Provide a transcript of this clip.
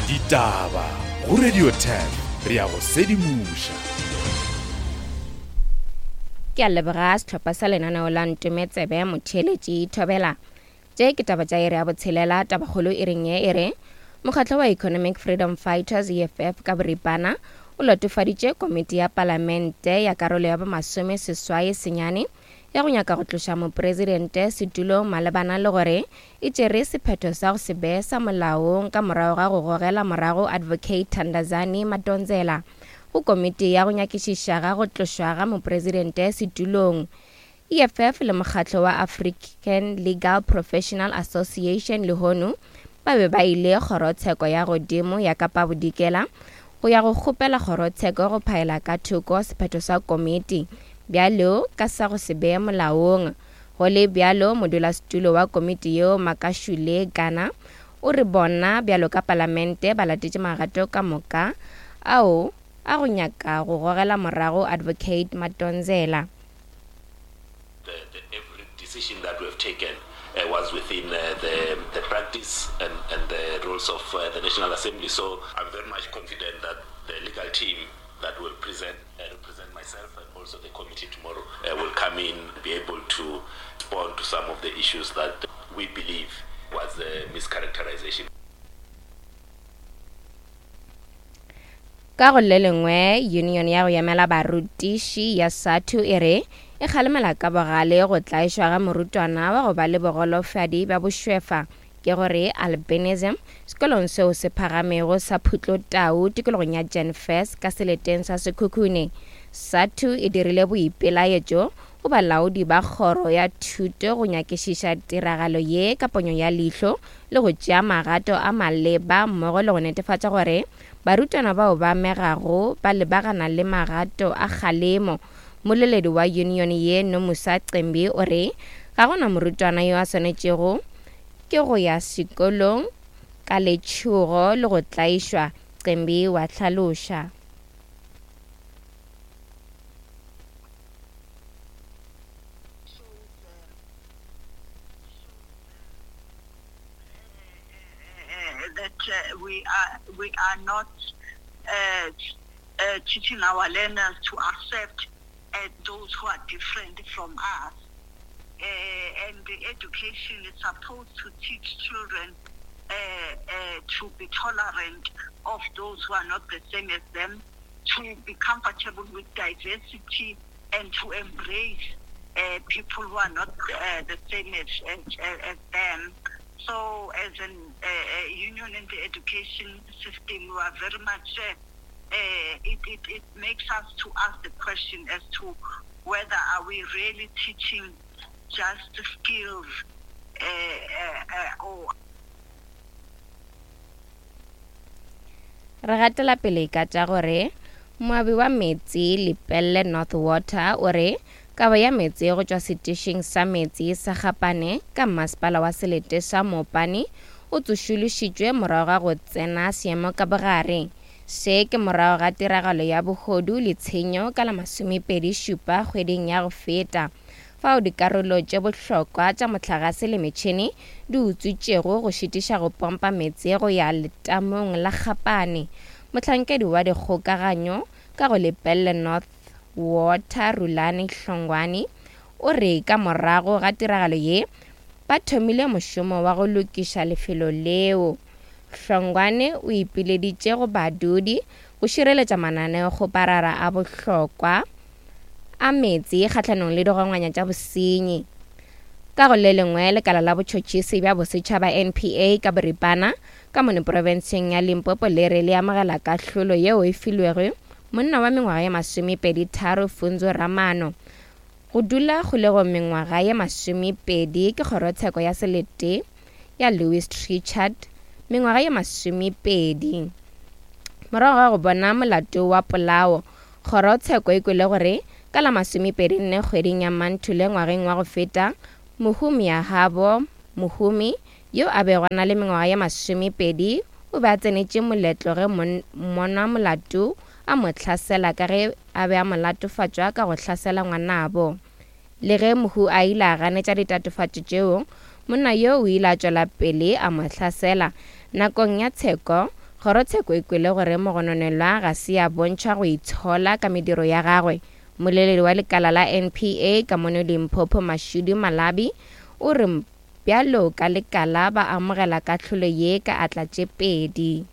Ditaba go Radio 10 re ya go sedimoša. Ke a leboga sehlopha sa lenaneo la Ntometsebe Motheeletši Thobela. Tše ke taba tša iri ya botshelela, tabakgolo iring ye e re, Mokgatlo wa Economic Freedom Fighters, EFF, ka boripana o latofaditše komiti ya palamente ya karolo ya bomasome seswai senyane ya go nyaka go tloša mopresidente setulong malebana le gore e tšere sephetho sa go se be sa molaong ka morago ga go gogela morago Advocate Thandazani Madonsela go komiti ya go nyakišiša ga go tlošwa ga mopresidente setulong. EFF le mokgatlo wa African Legal Professional Association lehono ba be ba ile kgorotsheko ya godimo ya Kapa Bodikela go ya go kgopela kgorotsheko go phaela ka thoko sephetho sa komiti bjalo ka sa go se be molaong. Go le bjalo, modulasetulo wa komiti yeo Makashule Gana o re bona bjalo ka palamente ba latetše magato ka moka ao a go nyaka go gogela morago Advocate Madonsela. The, the, every decision that we have taken uh, was within uh, the, the practice and, and the rules of uh, the National Assembly. So I'm very much confident that the legal team that will present uh, represent myself and also the committee tomorrow uh, will come in be able to respond to some of the issues that we believe was a mischaracterization. Ka go le lengwe, yunione ya go emela barutiši ya SADTU e re e kgalemela ka bogale go tlaišwa ga morutwana wa go ba le bogolofadi bja bošwefa, ke go re albinism, sekolong seo se phagamego sa Phutlotau tikologong ya Jan Fes ka seleteng sa Sekhukhune. SADTU e dirile boipelaetšo go balaodi ba kgoro ya thuto go nyakišiša tiragalo ye ka ponyo ya leihlo le go tšea magato a maleba mmogo le go netefatša gore barutwana bao ba amegago ba lebagana le magato a kgalemo. Mmoleledi wa yunione ye Nomusa Cembi o re ga go na morutwana yo a swanetšego ke go ya sekolong ka letšhogo le go tlaišwa, Cembi wa hlaloša. that uh, we are we are not uh, uh, teaching our learners to accept uh, those who are different from us. Uh, and the education is supposed to teach children uh, uh, to be tolerant of those who are not the same as them, to be comfortable with diversity, and to embrace uh, people who are not uh, the same as, as, as them. So, as an uh, union in the education system, we are very much, uh, uh, it, it, it makes us to ask the question as to whether are we really teaching just skills uh, uh, uh, or Re gatela pele ka tša gore moabi wa meetse Lepelle North Water o re kabo ya meetse go tšwa setišing sa meetse sa Gapane ka mmasepala wa selete sa Mopani o tsošološitšwe morago ga go tsena seemo ka bogare. Se ke morago ga tiragalo ya bohodu le tshenyo ka la masomepedi šupa kgweding ya go feta. fao dikarolo tše bohlokwa tša mohlagase le metšhene di utswitšego go šitiša go pompa meetse go ya letamong la Kgapane. Mohlankedi wa dikgokaganyo ka go Lepelle North Water Rulani Hlongwane o re ka morago ga tiragalo ye ba thomile mošomo wa go lokiša lefelo leo. Hlongwane o ipileditše go badudi go šireletša mananeokgoparara a bohlokwa a meetse kgahlanong le digongwanya tša bosenyi. Ka go le lengwe, lekala la botšhotšhisi bja bosetšhaba NPA ka boripana ka mono profenseng ya Limpopo le re le amogela kahlolo yeo e filwego monna wa mengwaga ye masomepedi-tharo Funzo Ramano go dula kgolegong mengwaga ye masomepedi ke kgorotsheko ya selete ya Louis Trichardt mengwaga ye masomepedi morago ga go bona molato wa polao. Kgorotsheko e kwele gore ka la masomepedi nne kgweding ya Manthule ngwageng wa go feta, Mohumi Ahabo Mohumi, yo a bego a na le mengwaga ye masomepedi, o be a tsenetše moletlo ge mmonwa molato a mo hlasela ka ge a be a mo latofatšwa ka go hlasela ngwanabo. Le ge mohu a ile a ganetša ditatofatšo tšeo, monna yoo o ile a tšwela pele a mo hlasela. Nakong ya tsheko, Kgorotsheko e kwele gore mogononelwa ga se a bontšha go itshola ka mediro ya gagwe. Mmoleledi wa lekala la NPA ka mono Limpopo Mashudu Malabi o re bjalo ka lekala ba amogela kahlolo ye ka atla tše pedi.